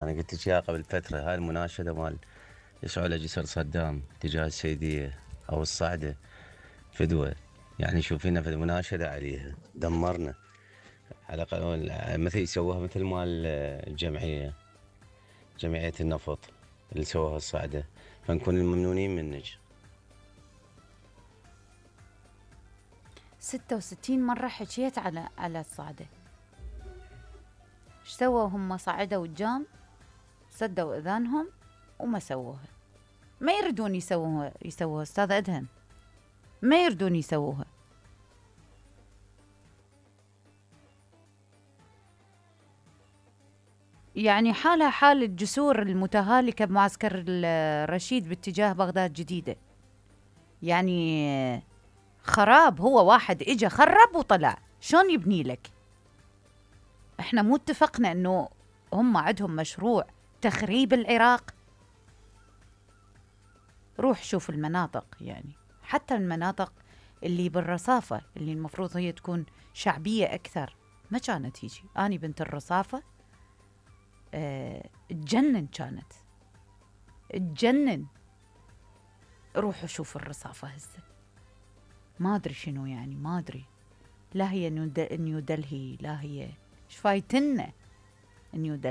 انا قلت لك اياها قبل فتره، هاي المناشده مال يسوع على جسر صدام تجاه السيديه او الصعده فدوه. يعني شوفينا في المناشده عليها دمرنا. على الاقل مثل يسووها مثل مال الجمعيه، جمعيه النفط اللي سووها الصعده، فنكون الممنونين منك. 66 مرة حكيت على الصعدة. ايش سووا هم؟ صعدوا الجام، سدوا اذانهم وما سووها. ما يردون يسووها استاذ ادهم، ما يردون يسووها. يعني حالها حال الجسور المتهالكة بمعسكر الرشيد باتجاه بغداد جديدة. يعني خراب، هو واحد اجا خرب وطلع، شلون يبني لك؟ احنا مو اتفقنا انه هم عندهم مشروع تخريب العراق؟ روح شوف المناطق، يعني حتى المناطق اللي بالرصافة اللي المفروض هي تكون شعبية أكثر ما كانت هيجي. أنا بنت الرصافة تجنن، كانت تجنن. روحوا شوف الرصافة هسه، ما أدري شنو يعني، ما أدري. لا هي نيو دلهي، لا هي ايش فايتنا نيو دلهي.